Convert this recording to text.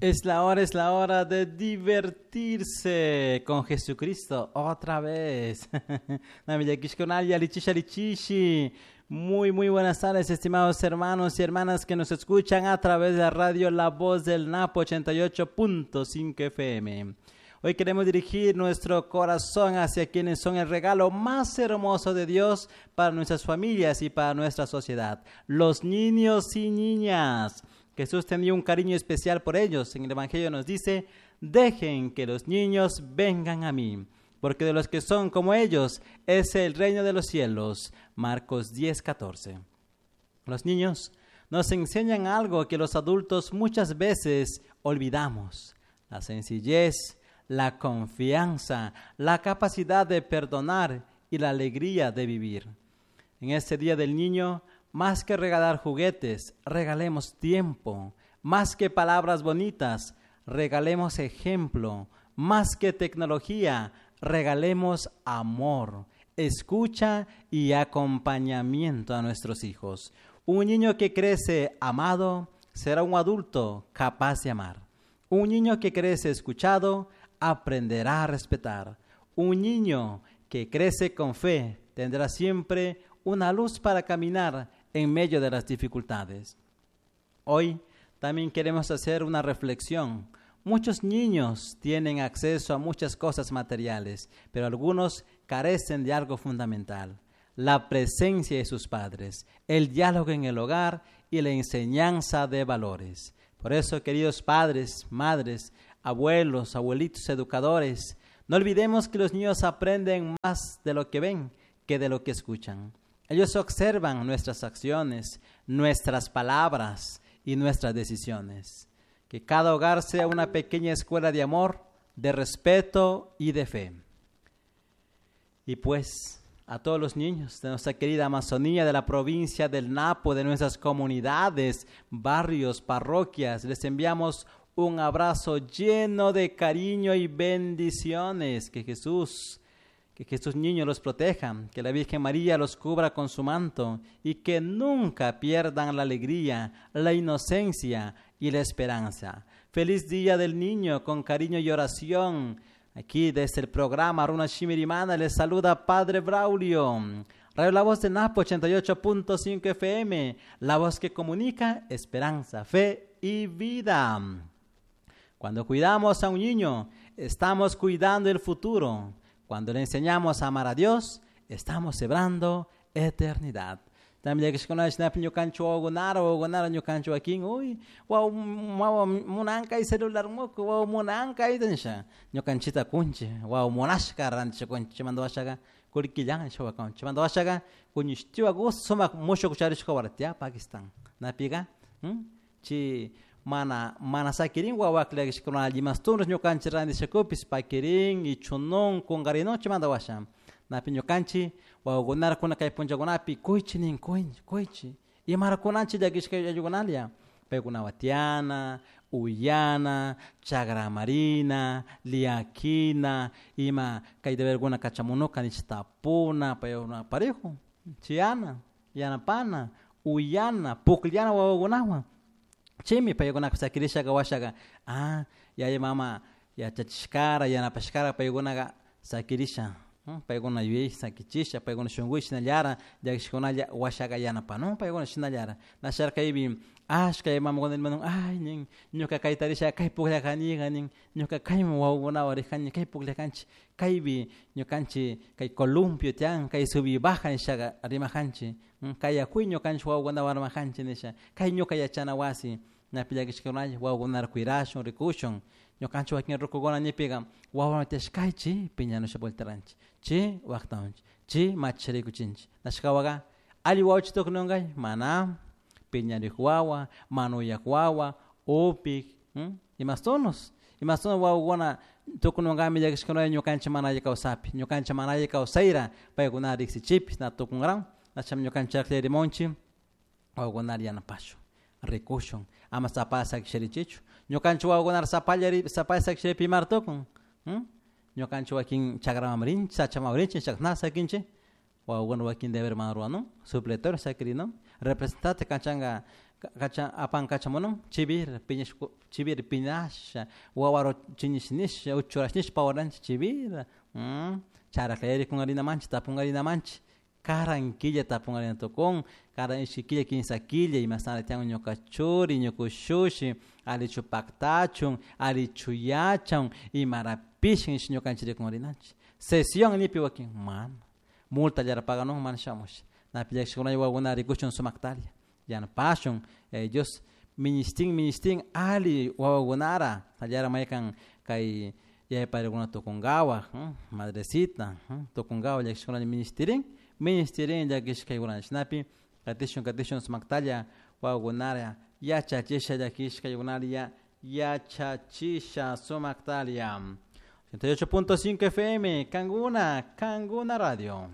Es la hora de divertirse con Jesucristo otra vez. Muy, muy buenas tardes, estimados hermanos y hermanas que nos escuchan a través de la radio La Voz del Napo 88.5 FM. Hoy queremos dirigir nuestro corazón hacia quienes son el regalo más hermoso de Dios para nuestras familias y para nuestra sociedad, los niños y niñas. Jesús tenía un cariño especial por ellos. En el Evangelio nos dice: dejen que los niños vengan a mí, porque de los que son como ellos es el reino de los cielos. Marcos 10:14. Los niños nos enseñan algo que los adultos muchas veces olvidamos: la sencillez, la confianza, la capacidad de perdonar y la alegría de vivir. En este Día del Niño, más que regalar juguetes, regalemos tiempo. Más que palabras bonitas, regalemos ejemplo. Más que tecnología, regalemos amor, escucha y acompañamiento a nuestros hijos. Un niño que crece amado será un adulto capaz de amar. Un niño que crece escuchado aprenderá a respetar. Un niño que crece con fe tendrá siempre una luz para caminar en medio de las dificultades. Hoy también queremos hacer una reflexión. Muchos niños tienen acceso a muchas cosas materiales, pero algunos carecen de algo fundamental: la presencia de sus padres, el diálogo en el hogar y la enseñanza de valores. Por eso, queridos padres, madres, abuelos, abuelitos, educadores, no olvidemos que los niños aprenden más de lo que ven que de lo que escuchan. Ellos observan nuestras acciones, nuestras palabras y nuestras decisiones. Que cada hogar sea una pequeña escuela de amor, de respeto y de fe. Y pues, a todos los niños de nuestra querida Amazonía, de la provincia del Napo, de nuestras comunidades, barrios, parroquias, les enviamos un abrazo lleno de cariño y bendiciones. Que Jesús niño los proteja, que la Virgen María los cubra con su manto y que nunca pierdan la alegría, la inocencia y la esperanza. Feliz Día del Niño, con cariño y oración. Aquí desde el programa Runa Shimirimana les saluda Padre Braulio. Radio La Voz de Napo 88.5 FM, la voz que comunica esperanza, fe y vida. Cuando cuidamos a un niño, estamos cuidando el futuro. Cuando le enseñamos a amar a Dios, estamos sembrando eternidad. También que ñukancho wawakunara wawakunara ñukancho wakin uy waw waw munanka y celular muku waw munanka y tansha ñukanchita kunchi waw munashka rantisha kunchi chimanda washaga kullkillan shawakan chimanda washaga kuñishtiwa sumak mushuk charishka waratia Pakistan napiga chi mana mana sakirin wawakla limastunus ñukanchik rantishakupis pakirin ichunun kunqarinon chimanda washa napi ñukanchik wawakunara kuna kay punllakunapi kuychi nin kuychi imarakunanchik llakishka ayllunalla paykunawan tiyana uyana chagramarina liakina ima kay deberkuna kachamunuka nish tapuna paykuna parejo chiyana yanapana uyana pukllana wawakunawan chaymi paykunaka sakirishaka washaqa yaya mama yachachishkara yanapashkara paykunaka sakirisha paykuna yuyay sakichisha paykuna shunkuy shinallara llakishkunalla washaqa yanapanun paykuna shinallara nasharkaypi ashka yaya mamakuna rimanun ay nin ñuka kayta risha kay pukllakaniqa nin ñuka kayman wawakunawan rijani kay pukllakanchik kaypi ñukanchik kay columpio tiyan kay subi baja nishaqa rimajanchik kay yakuy ñukanchik wawakunawan armajanchik nisha kay ñuka yachana wasi napi llakishkunalla wawakunara cuirashun rikushun ñukanchik wakin rukukuna ñipiqa wawawan tiyashkay chi piñanusha volteranchik chi waqtanchik chi machirikuchinchik nashkawaqa alli wawachi tukununkay mana piñarik wawa manuyak wawa upik imastunus imastunus wawakuna tukununkami llakishkunalla ñukanchik mana alli kawsapi ñukanchik mana alli kawsayra paykuna riksichipis na tukunkaran nacham ñukanchik akllarimunchik wawakunara yanapashun rikushun ama sapalla sakisharichichu ñukanchik wawakunara sapalla sakisharipi imara tukun ñukanchik wakin chakraman rinchik sachaman rinchik chakna sakinchik Wawakuna wakin deber mana ruranun supletorio sakirinun representante kachanka kachan apan kachamunun chivir piñash chivir piñasha wawaro chinish nisha uchurash nisha pawaranchik chivira charaklla kunkarinamanchik tapunkarinamanchik karan killa tapunkarina tukun karan ishki killa kinsa killa imashnara tiyan ñuka churi ñuka ushushi allichu paktachun allichu yachan imarapish nish ñukanchik rikunrinanchik sesión nipi wakin mana multallara paganun mana shamush napi llakishkunalla wawakuna rikuchun sumaktalla yanapashun Dios ministin ministin alli wawakunara allara maykan kay yaya padrekuna tukunkawak madrecita tukunkawak llakishkunalla ministirin ministirin llakishkaykunata chashnapi katishun katishun sumaktalla wawakunara yachachisha llakishkaykunalla yachachisha sumaktalla 88.5 FM Kanguna Kanguna Radio.